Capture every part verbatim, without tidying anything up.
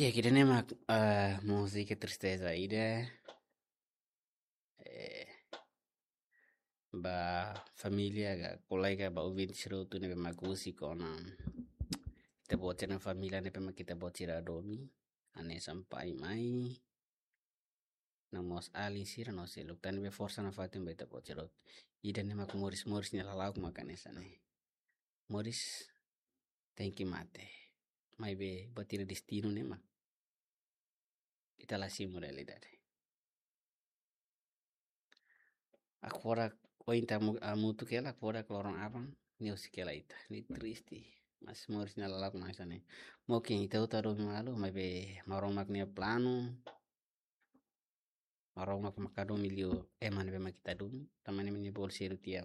Ya, ida-ne'e mak, eh, múzika tristeza ida. Eh, ba família ka kolega, ba ouvinte sira hotu ne'ebé mak husi kona ita-boot sira-nia família ne'ebé mak ita-boot sira hadomi. Hanesan pai, mai, no mós alin sira no seluk. Tan be forsa nafatin ba ita-boot sira hotu. Ida-ne'e mak moris, moris nia lala'ok mak hanesan ne'e. Moris tenke mate. Maibé buat ida destinu ne'e mak ita la simu realidade. Agora, ohin ita hamu-, hamutuk hela, agora loron aban ne'e husik hela ita. Ne'e triste. Mas moris nia lala'ok mak hanesan ne'e. Mungkin ita hotu hadomi malu, maibé Maromak nia planu. Maromak mak hadomi liu ema ne'ebé mak ita hadomi. Tanba ne'e mak nia bolu sira tiha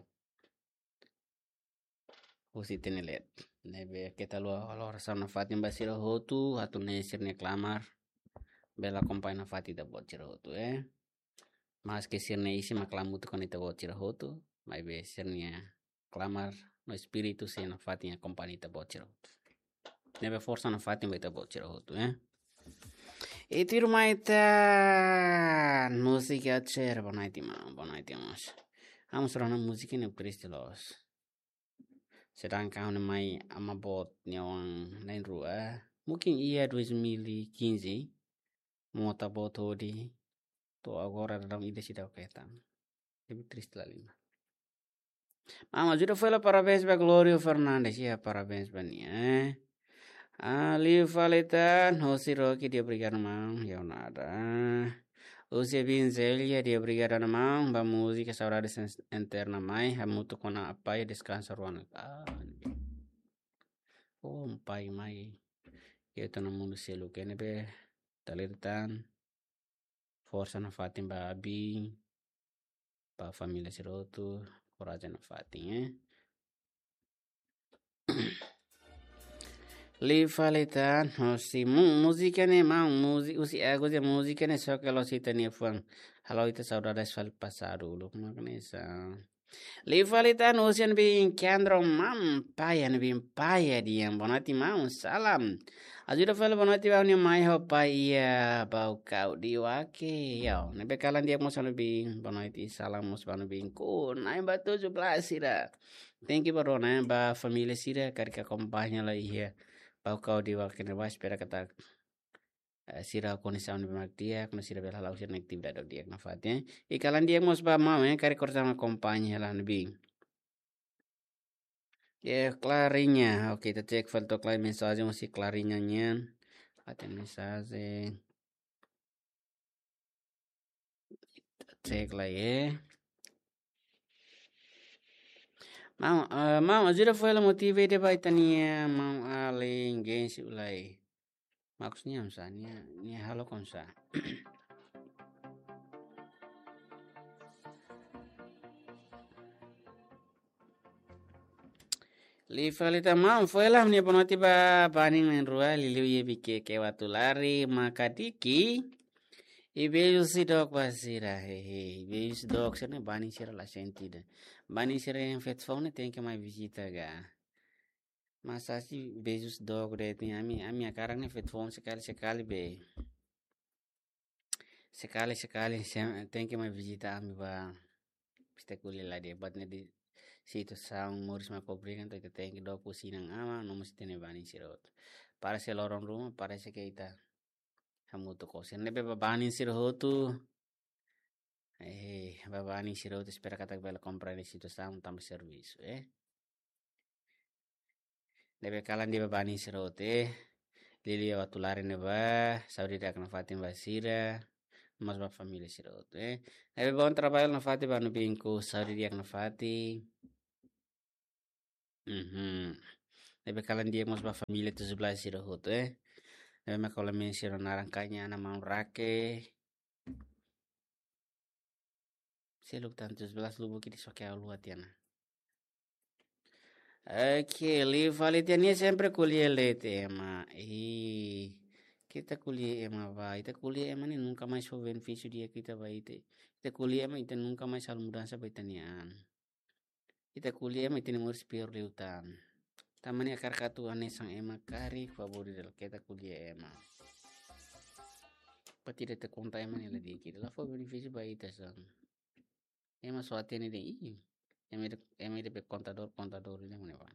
husi ita-nia leet. Ne'ebé keta haluha halo orasaun nafatin ba sira hotu, atu nune'e sira-nia klamar bele akompaña nafatin ita-boot sira hotu, eh. Maske sira-nia isin mak la hamutuk ho ita-boot sira hotu, maibé sira-nia klamar no espíritu sei nafatin akompaña ita-boot sira hotu. Ne'ebé forsa nafatin ba ita-boot sira hotu, eh. Ita irmã ita, múzika Acer, boa noite, irmão. Boa noite, irmãos. Vamos para uma música ne'e triste loos. Sedangkan ha'u-nia mai ama boot nia oan na'in-rua. Mungkin iha dois mil e quinze, mota boot hodi, to'o agora daudaun ida seidauk hetan. Lebih triste la lima. Mama, ajuda foin hela parabéns ba Glorio Fernandes, ya, parabéns ba nia, eh. Ah, liu fali tan, hosi Rocky, dia obrigadu maun, ya nada. Husi Bin Zelia, dia obrigadu maun, ba múzika Saudades En-, Eterna mai, hamutuk ho nia apá, deskansa rua ona. Ah, oh, pai mai. Ita-nia mundu seluk ne'ebé, ita lee tan. Forsa nafatin ba abin, ba família sira hotu, korajen nafatin, eh. Liu fali tan, hosi mu-, múzika ne'e maun, múzi-, husi Agus nia múzika ne'e só ke lo sita nia fuan. Halo ita saudades fali pasadu uluk, mak hanesan. Liu fali tan husi Anbin Kendro, maun, pai, Anbin, pai, dia, boa noite maun, salam. Ajuda fali boa noite ba ha'u-nia mai ho pai iha Baucau de Oaque, ya. Ne'ebé kalan di'ak mós Anbin, boa noite, salam mós ba Anbin. Ku, na'in ba tujuh belas sira. Thank you ba rona, ba família sira, karik akompaña hela iha Baucau de Oaque ne'ebá, espera katak, eh, sira kondisaun ne'ebé mak di'ak, no sira bele hala'o sira-nia atividade di'ak nafatin, eh. I kalan di'ak mós ba maun, eh, karik korta akompaña hela Anbin. Ya, Clarinha. Oke, ita cek fali to'ok lai mensajen husi Clarinha nian. Ita mensajen. Ita cek lai, eh. Maun, eh, maun, ajuda foin hela motiva ida ba ita-nia maun alin Gensi Ulai. Maksudnya oinsá, nia, nia halo oinsá. Liu fali tan maun, foin hela ha'u-nia boa noite ba banin na'in-rua, liuliu iha Viqueque, Uatulari, Makadiki. I beijos dook ba sira, hehe. Beijos dook, sira-ne'e banin sira la sente ida. Banin sira iha feto foun ne'e tenke mai vizita ka. Mas asi beijos dook de'it, ami, ami hakarak ne'e feto foun sekali-sekali be. Sekali-sekali se-, tenke mai vizita ami ba. Piste kuli la de bat ne di situ saung moris ma kobrikan to ita tenke dook husi inan-aman, no mós ita-nia banin sira hotu. Parese loron ruma, parese ke ita hamutuk ho sira. Ne'ebé ba banin sira hotu. Eh, ba banin sira hotu espera katak bele komprende situasaun tanba servisu, eh. Ne'ebé kalan di'ak ba banin sira hotu, eh. Liuliu Uatulari ne'ebá, saúde di'ak nafatin ba sira, no mós ba família sira hotu, eh. Ne'ebé bom trabalho nafatin ba Nubinku, saúde di'ak nafatin. Mhm. Ne'ebé kalan di'ak mós ba família tujuh belas sira hotu, eh. Ne'ebé mak kola men sira naran kaña ana maun rake. Seluk tan tujuh belas lubuk ida soke au luat ya na. Oke, liu fali tiha nia sempre ko'alia leten ema. Ih, ita ko'alia ema ba, ita ko'alia ema ne'e nunka mais fó benefísiu di'ak ita ba ita. Ita ko'alia ema, ita nunka mais halo mudansa ba ita-nia an. Ita ko'alia ema, ita-nia moris piór liután. Tanba ne'e hakarak atu hanesan ema karik, favór dala ita ko'alia ema. Buat ida ita konta ema ne'e la di'ak ida, la fó benefísiu ba ita sá. Ema só hatene de'it, ih, ema ida, ema ida be kontadór, kontadór ida mane ba.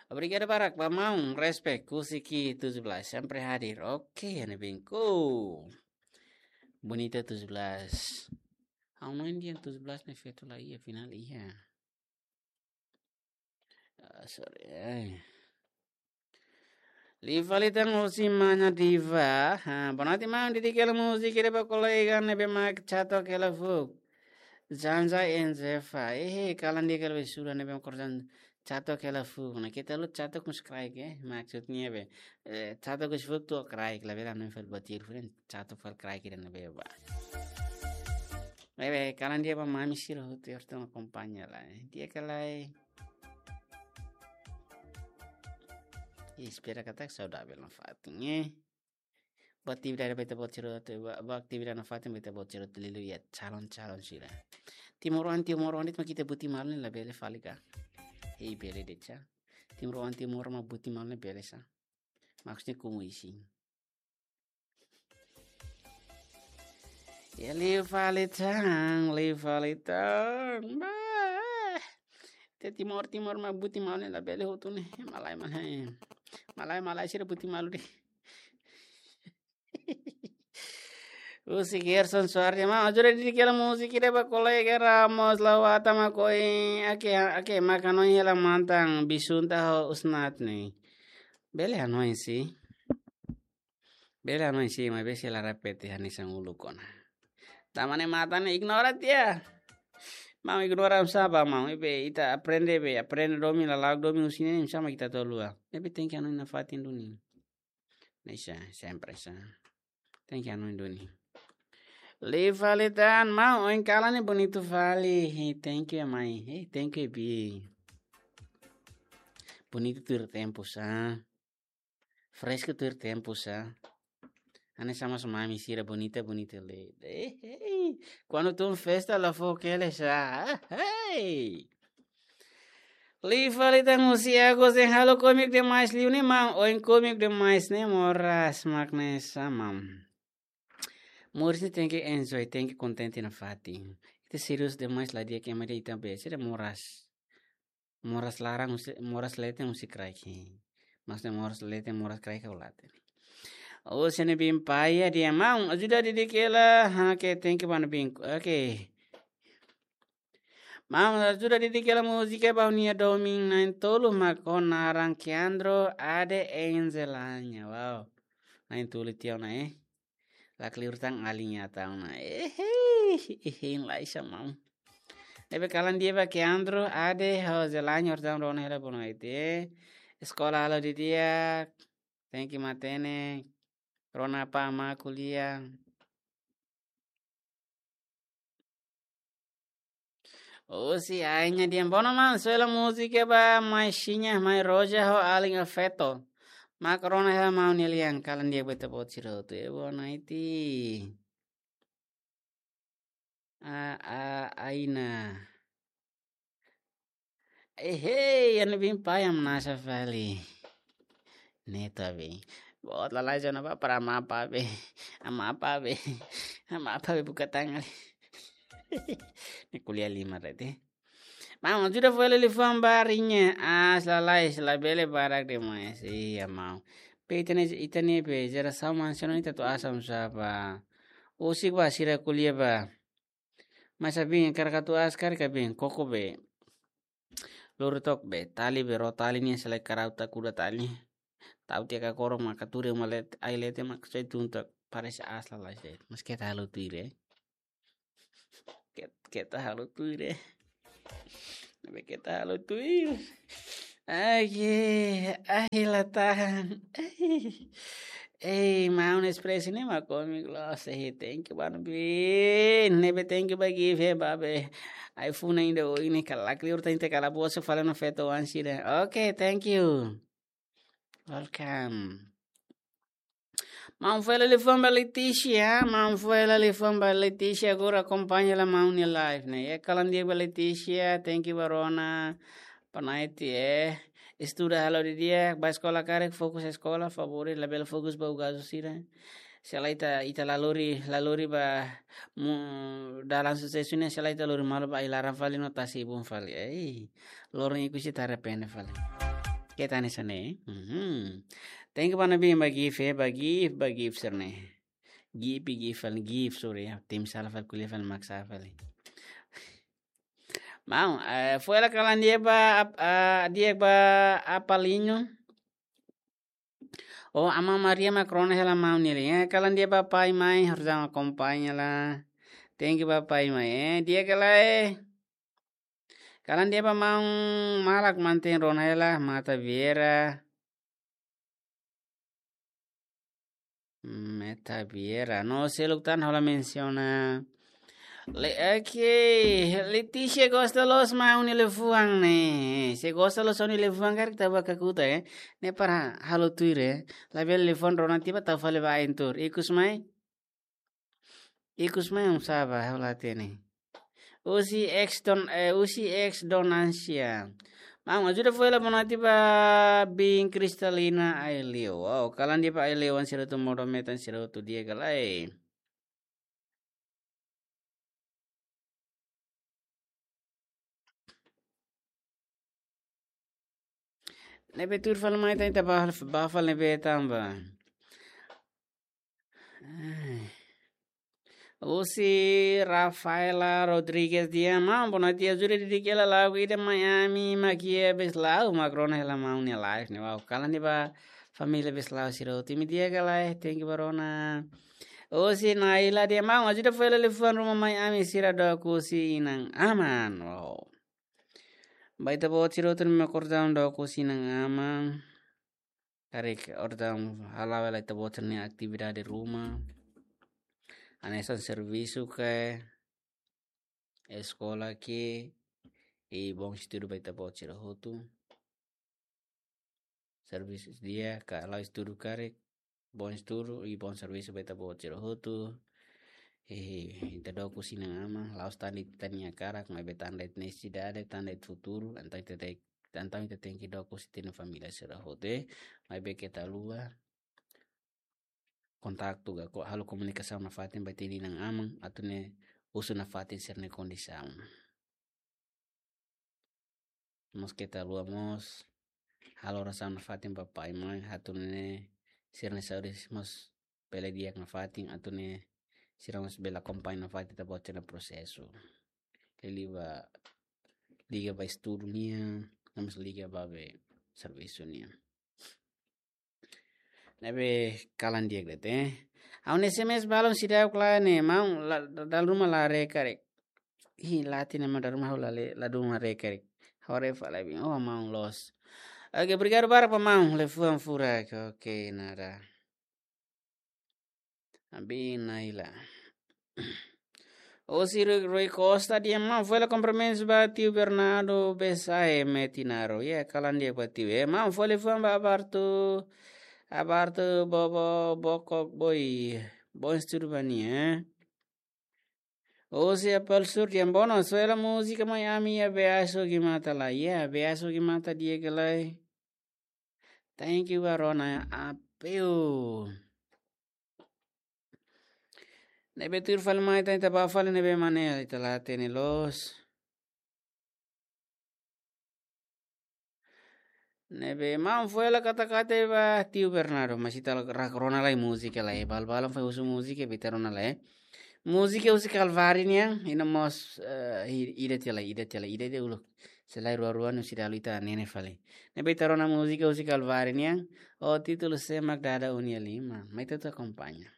Obrigadu barak ba maun, respect, Kusiki tujuh belas, sempre hadir. Oke, ha'u-nia bengku. Bonita tujuh belas. Ha'u hanoin dehan tujuh belas ne'e feto la iha, afinál iha. Ah, sorry, eh. Liu fali tan husi mana Diva. Ha, boa noite, maun. Dedika hela múzika ida ba kolega ne'ebé mak catok hela fuuk. Janja Enzefa. Eh, kalan di'ak hela be sura ne'ebé mak korjan catok hela fuuk. Ne'e keta haluha catok husi kraik, eh. Maksudnya be, eh, catok husi fuuk to'o kraik. Labele hanoin fali buat ida diferente. Catok fali kraik ida ne'ebé ba. Ne'ebé, kalan di'ak ba mami sira hotu, hotu akompaña lai. Di'ak ka lae? Espera katak saudavel nafatin, eh. Ba atividade ba ita-boot sira hotu, ba, ba atividade nafatin ba ita-boot sira hotu liuliu iha calon-calon sira. Timoroan, timoroan de'it mak ita buti malu ne'e labele fali ka? Hei, bele de'it sá. Timoroan, timoroan mak buti malu ne'e bele sá. Maksudnya komu isin. Ya, liu fali tan, liu fali tan. Bah. Ita Timor, Timor mak buti malu ne'e labele hotu ne'e. Malae, malae. Malae, malae sira buti malu de'it. Husi Gerson Suardi, maun, ajuda dedika hela múzika ida ba kolega Ramos Lawata mak ohin, ake, ake, mak hanoin hela mantan, bisunta ho usnat ne'e. Bele hanoin sá. Bele hanoin sá, maibé sei la repete hanesan uluk ona. Tanba ne'e matan ne'e ignora tiha. Maun, ignora sá ba maun, ne'ebé ita aprende be, aprende domin, lala'ok domin husi ne'e, sá mak ita tolua. Ne'ebé tenke hanoin nafatin duni. Ne'e sá, sempre sá. Tenke hanoin duni. Liu fali tan, maun, ohin kalan ne'e bonitu fali. Hey, thank you, mai. Hey, thank you, bi. Bonitu tuir tempu sá. Fresku tuir tempu sá. Hanesan mós mami sira bonita, bonita le. Eh, hey. Kuandu tun festa la fó kele sá. Hey. Liu fali tan husi Agus dehan halo kómiku demais liu ne'e maun, ohin kómiku demais ne'e moras mak ne'e sá maun. Moris ne'e tenke enjoy, tenke kontente nafatin. Ita serius demais la di'ak, ema dehan ita be, sira moras. Moras laran husi, moras leten husi kraik. Maksudnya moras leten, moras kraik ka ulate. Oh, sene bin paya dia maun, ajuda dedika hela, ha, oke, thank you, mano bin. Oke. Maun, ajuda dedika hela múzika ba ha'u-nia domin na'in-tolu mak ho naran Keandro Ade Enzelanya. Wow. Na'in-tolu tiha ona, eh. Lakleur tan alin ita ona. Eh, eh, eh, lae sá maun. Ne'ebé kalan di'ak ba Keandro Ade ho Zelanya, orsida rona hela bono ite. Eskola halo didi'ak. Thank you matenek. Rona apá amá ko'alia. Husi Ain nia dehan, bono maun, soe hela múzika ba mai Xinha, mai Roja ho alin Afeto. Mak rona hela maun nia lian, kalan di'ak ba ita-boot sira hotu. Eh, boa noite. A, a, Aina. Eh, hey, ha'u-nia bin paya hamnasa fali. Ne'e ita be. Boot lalais ona ba para amá apá be. Amá apá be. Amá apá be buka tangan. Ne'e ko'alia liman de'it. Maun, ajuda fó hela liafuan ba Rinya. Aas lalais, labele barak demais. Iya, maun. Be ita-nia, ita-nia be jerasaun mansiona ita atu aas hamsá ba. Husik ba sira ko'alia ba. Mas abin, karik atu aas karik abin, koko be. Lori took be, tali be, ró tali nian sei la karau ta kuda tali. Tau tiha kakorok mak katuri uma let, ai leten mak sei tun took, parese aas lalais de'it. Mas keta halo tuir, eh. Ket-, keta halo tuir, eh. Ne'ebé keta halo tuir. Ai, ai, la tahan. Ai. Ei, maun, express ne'e mak kómiku loos, eh, thank you, mano bin. Ne'ebé thank you ba gift, eh, ba be. Ai, funa inda o ini kalak liur tante kala bosu fala no feto wan sira. Okay, thank you. Welcome. Maun fó hela liafuan ba Leticia, maun fó hela liafuan ba Leticia, agora akompaña hela maun nia live ne'e. Iha kalan di'ak ba Leticia, thank you ba rona, panaiti, eh. Estuda halo didi'ak, ba eskola karik, fokus eskola, favór, labele fokus ba ugasu sira. Se lae ita, ita la lori, la lori ba mu dalan susesu ne'e, se lae ita lori malu ba ai-laran fali no tasi ibun fali. Ei, loron ikus ita arrepende fali. Keta hanesan ne'e. Mhm. Thank you ba ne'ebé ba gift, eh, ba gift, ba gift sira-ne'e. Gift, gift fali, gift, sorry ya. Tim sala fali, ko'alia fali, mak sala fali. Maun, eh, foin hela kalan di'ak ba, ap-, ah, di'ak ba Apalinho. Oh, Ama Maria mak rona hela maun nian. Eh, kalan di'ak ba pai mai, harus akompaña lah. Thank you ba pai mai. Eh, di'ak ka lae. Kalan di'ak ba maun Malak manten rona hela, Mata Vieira. Meta Vieira. No seluk tan ha'u la mensiona. Le, oke. Letícia gosta loos maun nia liafuan ne'e. Se gosta loos maun nia liafuan karik ita bá kakutak, eh. Ne'e para halo tuir, eh. Labele liafuan rona tiba tau fali ba ain tuur. Ikus mai. Ikus mai um saba, ha'u la hatene. Husi ex don, eh, husi ex don Ansia. Maun, ajuda foin hela bonati ba biin Kristalina Aileu. Wow, kalan di'ak ba Aileu, an sira hotu modo metan sira hotu di'ak ka lae. Ne'ebé tuur fali mai tan ita bá, bá fali ne'ebé tanba. Ai. Husi Rafaela Rodrigues dehan, maun, bonati ajuda didik hela lagu ida mai ami, mak iha Beslau, mak rona hela maun nia live ne'e. Wow, kalan di'ak ba família Beslau sira hotu, imi di'ak ka lae, thank you ba rona. Husi Naila dehan, maun, ajuda foin hela liafuan ruma mai ami, sira dook husi inan-aman. Wow. Ba ita-boot sira hotu ne'ebé mak orsida dook husi inan-aman. Karik orsida hala'o hela ita-boot sira-nia atividade ruma. Hanesan servisu ka, eskola ka, i bom estudu ba ita-boot sira hotu. Servisu di'ak ka la'ós estudu karik, bom estudu i bom servisu ba ita-boot sira hotu. I ita dook husi inan-aman, la'ós tan de'it ita-nia hakarak, maibé tan de'it nesesidade, tan de'it futuru, entaun ita te-, entaun ita tenke dook husi ita-nia família sira hotu, eh. Maibé keta haluha kontaktu ka ko-, halo komunikasaun nafatin ba ita-nia inan-aman, atu nune'e husu nafatin sira-nia kondisaun. Mós keta haluha mós halo orasaun nafatin ba pai mai, atu nune'e sira-nia saúde mós bele di'ak nafatin, atu nune'e sira mós bele akompaña nafatin ita-boot sira-nia prosesu. Liga ba, liga ba estudu nian, no mós liga ba be servisu nian. Ne'ebé kalan di'ak de'it, eh. Ha'u-nia S M S balun seidauk la'o ne'e, maun, la, dala ruma la haree karik. Ih, la hatene maun, dala ruma ha'u la lee, la dún haree karik. Ha'u haree fali biin, oh, maun loos. Oke, obrigadu barak ba maun, liafuan furak. Oke, nada. Abi Naila. Husi Rui, Rui Costa dehan, maun, foin hela kumprimentus ba tiu Bernardo Besae Metinaro. Ya, kalan di'ak ba tiu. Eh, maun, foin hela liafuan ba Abartu, Abartu Bobo Bokok Boy. Bom estudu ba nia, eh. Husi Apel Sur dehan, maun, foin hela múzika mai ami iha Beaso Gimata lae. Ya, Beaso Gimata di'ak ka lae. Thank you ba rona Apel. Ne'ebé tuur fali mai tan ita bá fali ne'ebé mak ne'e ita la hatene loos. Ne'ebé maun foin hela katak-katak ba tiu Bernardo, mas ita la rak rona lai múzika lai, balu-balu foin husu múzika, ita rona lai. Múzika husi Kalvari nian, i no mós, eh, i-, ida tiha lai, ida tiha lai, ida tiha uluk. Se lae rua-rua no seidauk ita hatene fali. Ne'ebé ita rona múzika husi Kalvari nian, ho títulu Sé Mak Dada Ó-nia Liman. Mai ita akompaña.